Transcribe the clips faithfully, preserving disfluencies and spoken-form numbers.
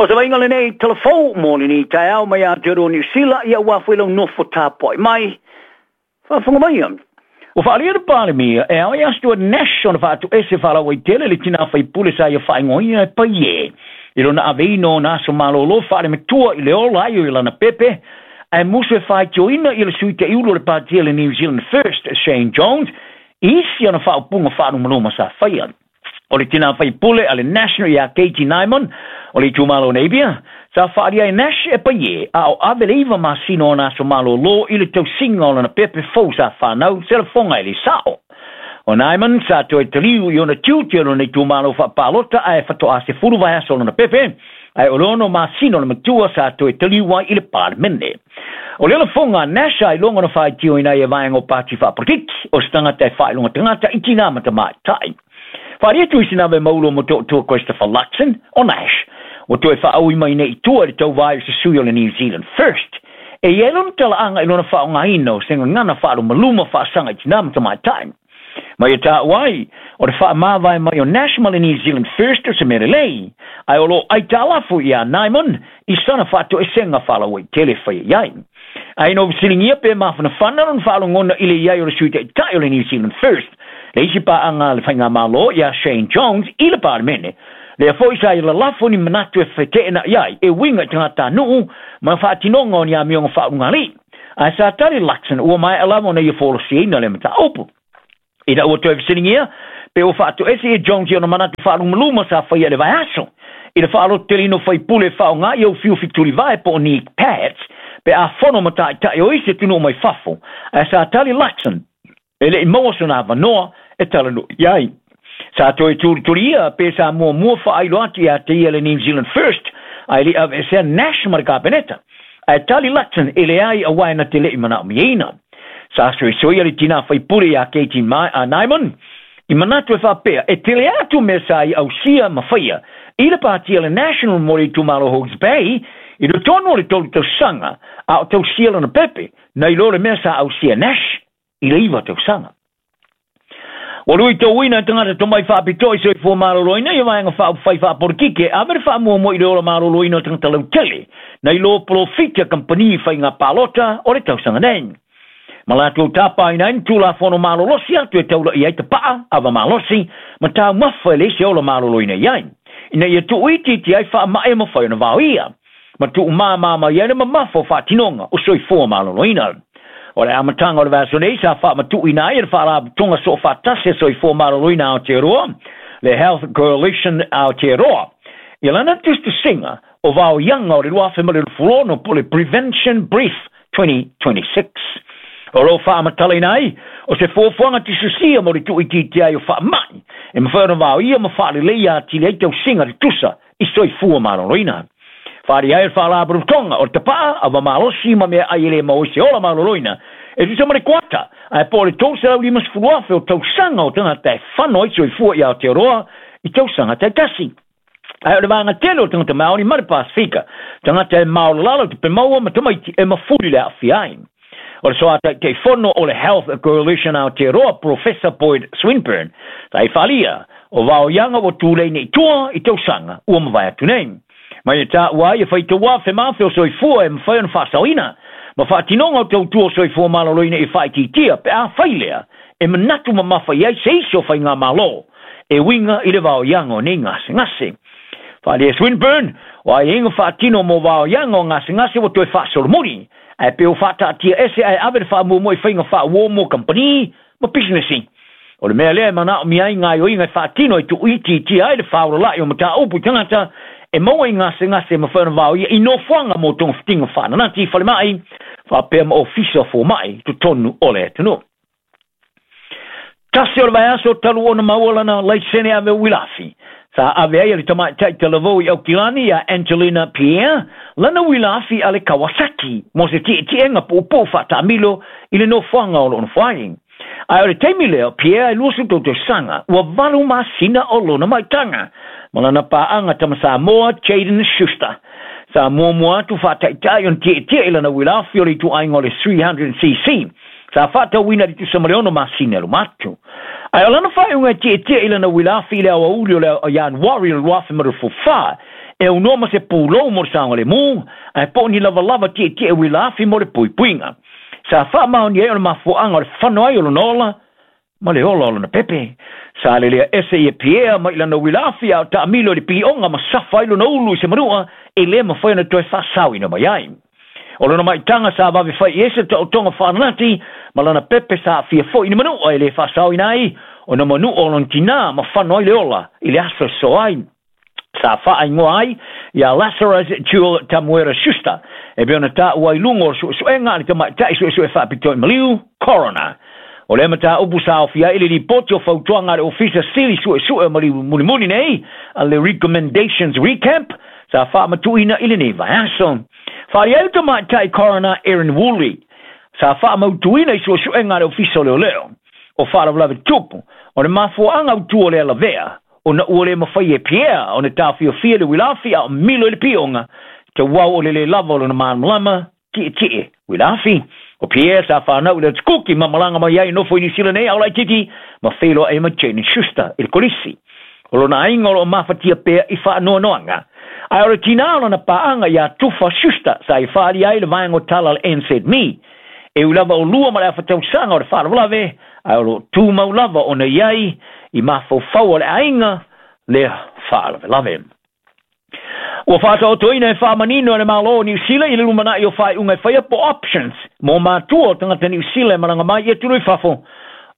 O se vaaiga lenei talavou mo lenei taeao mai Aotearoa Niu Sila ia ua foi lau nofo tapuai mai. Faafofoga maia. Ua faaalia le Palemia e ao ia Stuart Nash ona faatoese faalauaitele le tinā faipule sa ia faaigoaina e Paie i lona aveina o ona aso malōlō faalematua i le ola ai o i lana pepe ae musu e faitioina i le sui taiulu o le patia le New Zealand First Shane Jones i isi ona faaupuga faalumaluma sa faia. O le tinā faipule a le National ia Katie Nimon o le itumalo Napier sa faaalia e Nash e Paie a o ave le iva masina o ona aso malōlō i le tausiga o lana pepe fou sa fanau se lafoga e le sa'o. O Nimon sa toe taliu i ona tiute o lona itumalo faapalota ae fatoā sefulu vaiaso o lona pepe ae o le ono masina o le matua sa toe taliu ai i le Palemene. O le lafoga a Nash a iloga ona faitioina ai e vaega o pati faapolokiki o se tagata e faailoga tagata i tinā ma tamaitai. Faaalia atu i sina maulo mo to'otua Christopher Luxon o Nash ua toe faaui mai nei i tua i le tauvai o se sui o le New Zealand First. E i ai lona talaaga i lona faaaogaina o se gagana faalumaluma faasaga i tinā ma tamaitai. Mai e taua ai o le faamavae mai o Nash ma le New Zealand First o se mea lelei, ae o loo aitalafu iā Nimon i sana faatoesega faalauaitele faia i ai. Ae ina ua fesiligia pe mafanafana lona faalogona i le i ai o le sui taitai o le New Zealand First, le isi paaga a le faigamālō iā Shane Jones i le Palemene, lea foi sa ia lalafo ni manatu e feteenaʻi ai e uiga i tagatanuu ma faatinoga o ni amioga faaulugalii. Ae sa tali Luxon ua maea lava ona ia folosiaina le mataupu. Ina ua toe fesiligia pe ua faatoese ia Jones i ona manatu faalumaluma sa faia i le vaiaso i le faalototeleina o faipule e faaaoga i aufiufi tulivae po o knee pads pe a fono ma taitai o isi atunuu mai fafo, ae sa tali Luxon e leʻi maua sona avanoa e talanoa i ai. Sa toe tulitulia pe sa muamua faailo atu ia te ia le New Zealand First ae leʻi aveesea Nash ma le Kapeneta. Ae tali Luxon e leai auae na te leʻi manaomiaina. Sa soisoia le tinā faipule iā Katie Nimon i manatu e faapea e tele atu mea sa ia ausia ma faia i le patia le National mo le itumalo Hawke's Bay i totonu o le tolu tausaga a o tausia lona pepe nai lo le mea sa ausia Nash i le iva tausaga. Ua luitauina e tagata tomai faapitoa i soifua malōlōina ia vaega faaupufai faapolokiki e ave le faamuamua i le ola malōlōina o tagata lautele nai lo polofiti a kamupani faiga palota o le tausaga nei. Ma latou tapaina ai ni tulafono malolosi atu e taulaʻi ai tapaʻa ava malosi ma taumafa e leai se ola malōlōina i ai, ina ia tuuitiiti ai faamaʻi e mafai ona vaoia ma tuumāmā mai ai le mamafa o faatinoga o soifua malōlōina. O le amataga o le vaiaso nei sa faamatuuina ai e le Faalapotopotoga Soofaatasi a Soifua Malōlōina Aotearoa, le Health Coalition Aotearoa, ia lana tusitusiga o vaoiaga o le lua afe ma le luafulono po o le Prevention Brief twenty twenty-six. O loo faamatalaina ai o se fuafuaga tusitusia mo le tuuitiiti ai o faamaʻi e mafai ona vaoia ma faaleleia atili ai tausiga tutusa i soifua malōlōina. Faaalia ai le Faalapotopotoga o le tapaa ava malosi ma meaai e lē maua ai se ola malōlōina e tusa ma le kuata ae po o le tolu selau limasefulu afe o tausaga o tagata e fano ai soifua i Aotearoa i tausaga taitasi. Ae o le vaega tele o tagata Maori ma le Pasifika, tagata e maolalalo tupe maua ma tamaiti e mafuli le aafia ai. O le soa taitaifono o le Health Coalition Aotearoa, Professor Boyd Swinburne, sa i faaalia o vaoiaga ua tulei nei i tua i tausaga ua mavae atu nei. Mai e taua ai e faitauā femāfe o soifua e mafai ona faasaoina ma faatinoga o tautua o soifua malōlōina i faaitiitia pe a fai lea e manatu mamafa i ai se isi o faigamālō e uiga i le vaoiaga o nei gasegase. Faaalia Swinburne o aiaiga faatino mo vaoiaga o gasegase ua toe faasolomuli ae pe ua faataatia ese ae ave le faamuamua i faiga faauō mo kamupani ma pisinisi. O le mea lea e manaomia ai gaoioiga e faatino e tuuitiitia ai le faaolalaʻi o mataupu i tagata e maua i gasegase e mafai ona vaoia i nofoaga mo togafitiga faananati falemaʻi faapea ma ofisa o fomaʻi totonu o le atunuu. Tasi o le vaiaso talu ona maua lana laisene ave uilafi sa ave ai e le tamaitai talavou i Aukilani iā Angelina Pierre lana uilafi a le Kawasaki mo se tiʻetiʻega puupuu faataamilo i le nofoaga o loo nofo ai. Ae o le taimi lea Pierre e luasefulu tolu tausaga ua valu masina o lona maitaga ma lana paaga tama Samoa Jaden Schuster sa muamua atu faataitai ona tietie i lana uilafi o le ituaiga o le three hundred c c sa faatauina i le tusa ma le ono masina e luma atu. Ae o lana faaiuga e tietie i lana uilafi i le aoauli o le Ianuari o le lua afe ma luasefulu fa E aunoa ma se pulou mo le saogalemu, ae po o ni lavalava tietie uila afi mo le puipuiga. Sa faamaonia ai o le mafuaaga o le fano ai o lona ola ma le ola o lona pepe. Sa lelea ese ia Pierre mai lana uila afi a o taamilo i le pioga ma safa ai lona ulu i se manua e lē mafai ona toe faasaoina mai ai. O lona maitaga sa vave fai i ese taotoga faananati ma lana pepe sa aafia foʻi ni manua e lē faasaoina ai ona manua o lona tinā ma fano ai le ola i le aso e soa ai. Sa faaigoa ai ia Lazarus Jewel Tamuera Schuster e pei ona taua i luga o le suesuega a le tamaitaʻi suesue faapitoa i maliu Corona. O lea mataupu sa aofia ai le lipoti o fautuaga a le Ofisa Sili Suesue o Maliu Mulimuli nei a le Recommendations Recap sa faamatuuina i lenei vaiaso. Faaalia ai le tamaitaʻi Coroner Erin Woolley sa faamautuina i suesuega a le Ofisa o Leoleo o faalavelave tupu o le mafuaaga autū o le alavea ona ua lē mafai e Pierre ona taofiofia le uilafi a o milo i le pioga tauau o le lē lava o lona malamalama tietie uilafi. O Pierre sa fanau i le atukuki ma malaga mai ai nofo i Niusila nei a o laititi ma feiloai ma Jane Schuster i le kolisi. O lona aiga o loo mafatia pea i faanoanoaga. Ae o le tinā o lana paaga iā Tufa Schuster sa i faaalia ai le vaega o tala a le N Z M E. E ui lava o lua ma le afatausaga o le faalavelave, ae o loo tumau lava ona i ai i mafaufau o le aiga lea faalavelave. Ua faataotoina e faamanino e le Malo o Niusila i le lumanai o faaiuga e faia po options mo matua o tagata Niusila e malaga mai i atunuu i fafo.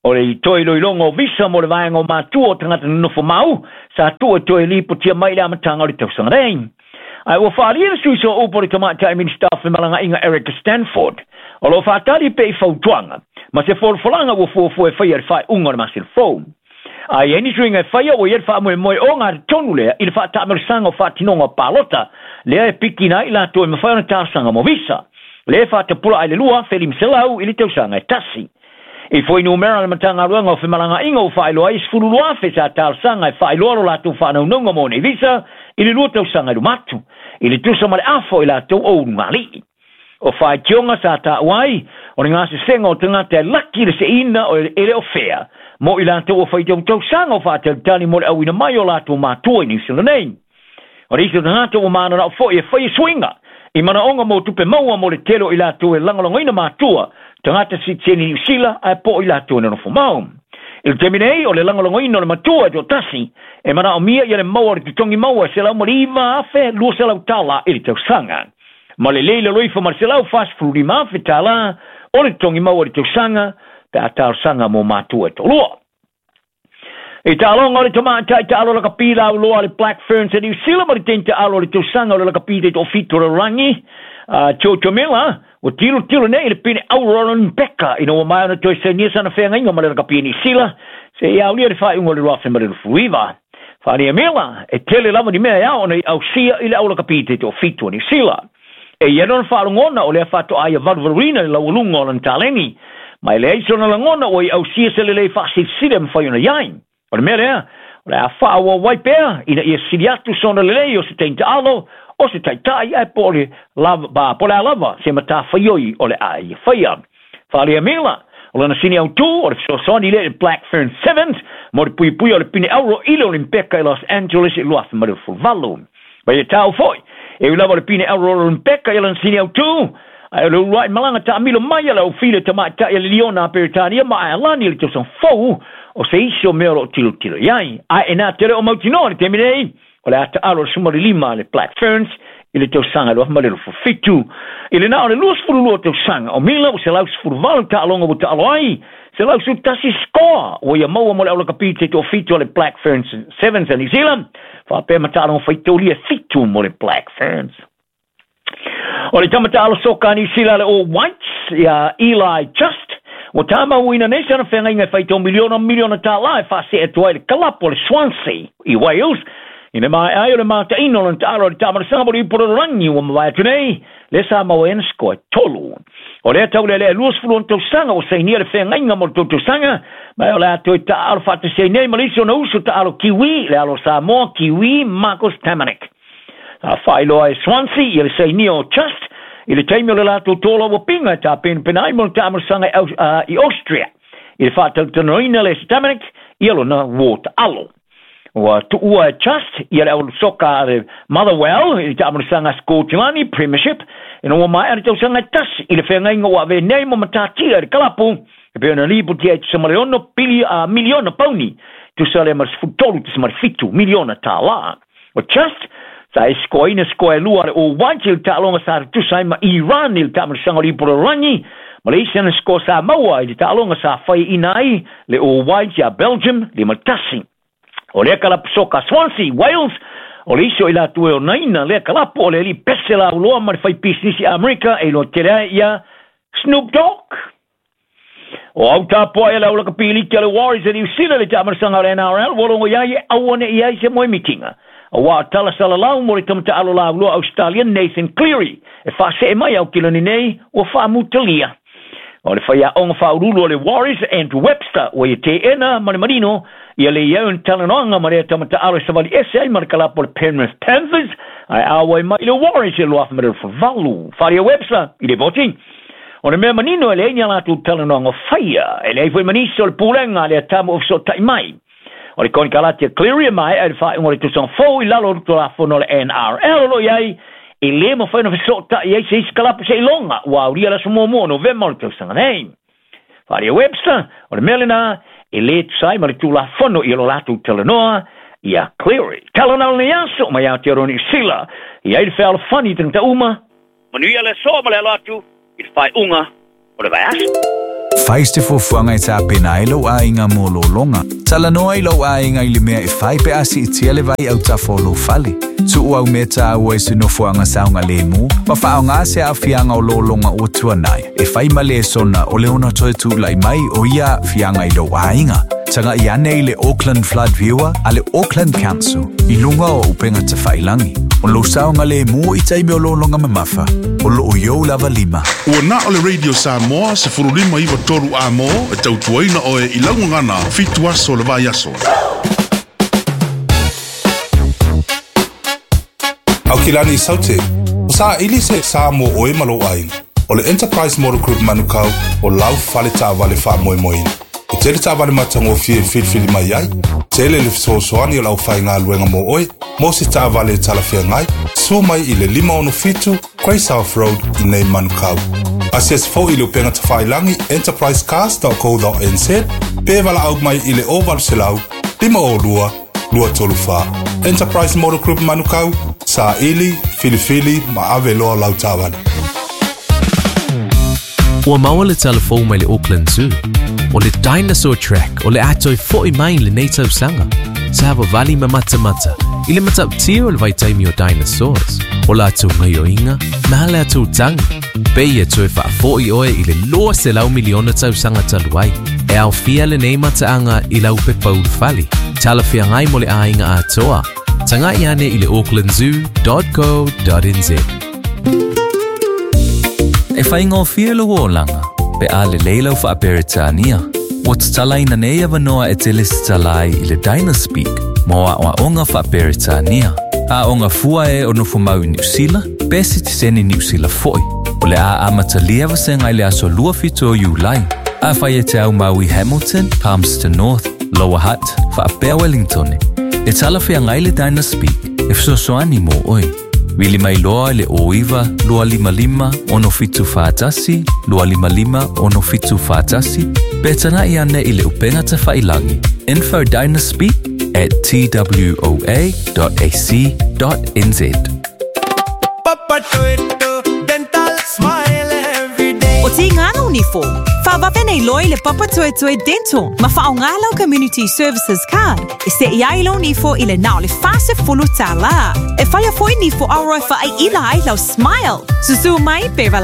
O le toe iloiloga o visa mo le vaega o matua o tagata nonofo mau sa tuu e toe lipotia mai i le amataga o le tausaga nei. Ae ua faaalia le sui sooupu o le tamaitaʻi Minista o Femalagaaiga Eric Stanford o loo faatali pea i fautuaga ma se folafolaga ua fuafua e faia le faaiuga o le masina fou. A i ai ni suiga e faia ua ia le faamoemoe o gatonu lea i le faataamilosaga o faatinoga o palota lea e pikina ai latou e mafai ona talosaga mo visa. Lea e faatapula ai le lua afe lima selau i le tausaga e tasi. I fuainumera le Matagaluega o Femalagaaiga ua faailoa ai sefulu lua afe sa talosaga e faailoa lo latou faanaunauga mo nei visa i le lua tausaga i luma atu i le tusa ma le afa o i latou o ulugalii. O faitioga sa taua ai o le gasesega o tagata e laki le seina o e le o fea mo i latou o faitautausaga o faatalitali mo le auina mai o latou matua i Niusila nei. O le isi o tagata ua mananao foʻi e faia suiga i manaoga mo tupe maua mo le tele o i latou e lagolagoina matua tagata sitiseni Niusila ae po o i latou e nonofo mau. I le taimi nei o le lagolagoina o le matua e toatasi e manaomia ia le maua o le totogi maua e selau ma le iva afe lua selau tala i le tausaga. Ma le lei laloifa ma le selau fasefulu lima afe tālā o le totogi maua i le tausaga pe a talosaga mo matua e toalua. I taaloga o le tamaitai taalo lakapi lauloa le Black Ferns e Niu Sila ma le teini taalo o le tausaga o le lakapi taitoafitu o le lalolagi uh, Jojo Miller ua tilotilo nei i le pine auro Olimpeka ina ua maea ona toe sainia sana feagaiga ma le lakapi e Niu Sila seia aulia le faaiuga o le lua afe ma le luasefulu iva. Faaalia Miller e tele lava ni mea e ao ona i ausia i le au lakapi taitoafitu o Niu Sila. E ia lona faalogona o lea faatoa ia valuvaluina le laualuga o lana taleni. Ma e leai sona lagona ua i ausia se lelei faasilisili e mafai ona iai. O le mea lea, o le a faaauau ai pea ina ia sili atu sona lelei o se teini taalo, o se taitai ae po o le lava, ba, po o le a lava se matafaioi o le a ia faia. Faaalia Mila, o lana sini autū o le fesoasoani lea i le Black Fern Sevens mo le puipui o le pine auro i le Olimpeka i Los Angeles i lua afe ma le luasefulu valu. Ma ia tau foʻi, e ui lava o le pine auro o le Olimpeka i lana sini autū, ae o le uluai malaga taamilo mai a le aufili tamaitai a le Liona a Peretania ma Aelani i le tausaga fou o se isi o mea o loo tilotilo i ai. Ae e nā te leo mautinoa le taimi nei, o le a taalo le suma le lima a le Black Ferns i le tausaga lua afe ma le luasefulu fitu. I le na o le luasefulu lua tausaga o Mila ua selau sefulu valu taaloga ua taalo ai, selau sefulu tasi scoa ua ia maua mo le aulakapi taitoafitu a le Black Ferns Sevens a New Zealand, faapea ma taaloga faitaulia fitu mo le Black Ferns. O le tamataalo soka a Niu Sila le All Whites ia Eli Just ua tamauina nei sana feagaiga e faitau miliona miliona tālā e faasee atu ai le kalapu o le Swansea i Wales. Ina maea ai o le mataina o lona taalo o le taamalasaga mo le ipololorangi ua mavae atu nei le sa maua ai ana scoa e tolu. O lea taulelea e luasefulu ono tausaga ua sainia le feagaiga mo le tou tausaga ma o le a toe taalo faatasi ai nei ma le isi ona uso taalo Kiwi le alo Samoa Kiwi Marcus Tamanek. Sa faailoa e Swansea ia le sainia o Just i le taimi o le latou tola ua piga e tapenapena ai mo le taamalasaga i Austria i le faatalatalanoaina le Tamanek ia lona uō taalo. Ua tuua e Just ia le au soka a le Motherwell i le taamilisaga a Sikotilani Premiership ina ua maea le tausaga e tasi i le feagaiga ua avea nei ma matatia i le kalapu e pei ona lipotia e tusa ma le ono pili a miliona pauni, tusa lea ma le sefulu tolu tasi ma le fitu miliona tālā. O Just sa e sikoaina sikoa e lua a le All Whites i le taaloga sa tutusa ai ma Iran i le taamilisaga o le Ipu o le Lalolagi, ma le isi ana sikoa sa maua i le taaloga sa faiaina ai le All Whites iā Belgium lima tasi. O lea kalapu soka Swansea, Wales, o le isi o i latou e onaina lea kalapu o le alii pese lauloa ma le faipisinisi Amerika e iloa tele ai ia Snoop Dogg. O au tapuai a le aulaka piliki a le Warriors e Niu Sila i le taamilisaga o le N R L, ua logo iai e auane'i ai se moemitiga. Auā o tala salalau mo le tamata'alo lauloa Ausetalian Nathan Cleary e faasee mai Aukilani nei ua faamutalia. O le faiaoga faauluulu o le Warriors Andrew Webster ua ia teena ma le manino ia le iai o ni talanoaga ma lea tamata'alo e savali ese ai ma le kalapu o le Penrith Panthers ae auai mai i le Warriors i le lua afe ma le valu. Faaalia Webster i le poti. O le mea manino e leai ni a latou talanoaga faia, e leai foi ma nisi o le pulega a lea tama ua fesoota'i mai. O le konikalati a Cleary e maea i le faaiuga o le tausaga fou i lalo o le Tulafono o le N R L o lo o i ai, e lē mafai ona fesoota'i ai se isi kalapu seiloga ua aulia le aso muamua o Novema o le tausaga nei. Faaalia Webster, o le mea lenā e lē tusa ai ma le Tulafono i lo latou talanoa ia Cleary. Talanoa lenei aso mai Aotearoa Niu Sila, i ai le fealofani i tagata uma, manuia le aso ma le alo atu i le faaiuga o le vaiaso. Fai se fuafuaga e tapena ai lou aiga mo lologa. Talanoa i lou aiga i le mea e fai pe a siitia le vai autafa o lou fale. Tuu au mea tāua i se nofoaga saogalemu, ma faaaogā se aafiaga o lologa ua tuanai. E fai ma lesona o le ono toe tulai mai o ia aafiaga i lou aiga. Taga'i ane i le Auckland Flood Viewer a le Auckland Council i luga o upega tafailagi. O lou saogalemu i taimi o lologa mamafa, o loo iou lava lima. Ua na o le Radio Samoa sefulu lima iwa tolu a mo e tautuaina oe i laugagana fitu aso le vaiaso. Aukilani i Saute, o sa ili se sa mo oe ma lou aiga. O le Enterprise Motor Group Manukau o lau fale taavale faamoemoeina. E tele taavale matagofie e filifili mai ai, tele le fesoasoani o le aufaigaluega mo oe, mo se taavale e talafeagai, sua mai i le lima ono fitu, Grey South Road i nei Manukau. Asiasi foi i le upega tafailagi enterprise cars dot co dot n z pe valaau mai i le o valu selau, lima o lua, lua tolu fa. Enterprise Motor Group Manukau, sa ili, filifili ma ave loa lau taavale. Ua maua le talafou mai le Auckland Zoo. O le dinosaur track o le atoi fo'i mai le nei tausaga. Sa vavali ma matamata i le matautia o le vaitaimi o dinosaurs. O latou gaioiga ma le atou tagi. Pe ia toe faafo'i oe i le lua selau miliona tausaga talu ai. E aofia lenei mataaga i lau pepa ulufale. Talafeagai mo le aiga atoa. Taga'i ane i le auckland zoo dot co dot n z. E whaingofie lo olaga, pe a le lelei lau faaperetania. Ua tatalaina nei avanoa e te lesitalai i le Dynaspeak mo aoaoga faaperetania. Aoga fua e o nofomau i Niu Sila, pe sitiseni Niu Sila foi. O le a amatalia vasega i le aso lua fito o Iulai. A whai e te au mau i Hamilton, Palmerston North, Lower Hutt, faapea Wellington. E talafeagai le Dynaspeak e fesoasoani mo oe. Vili mai loa i le o iwa, lua lima lima, ono fitu whātasi, lua lima lima, ono fitu whātasi, pe taga'i ane i le upega tawhailangi. Info dynaspeak at t w o a dot a c dot n z. Papatoeto, dental smile every day. O ti ngā nifo. Whawawe nei loi le Papatoetoe Dental, ma whaonga lau Community Services Card. E se i ai lau nifo i le nao le whase fulu tālā. E whaia foi nifo auroi wha ai ila ai lau smile. Susu mai pe wala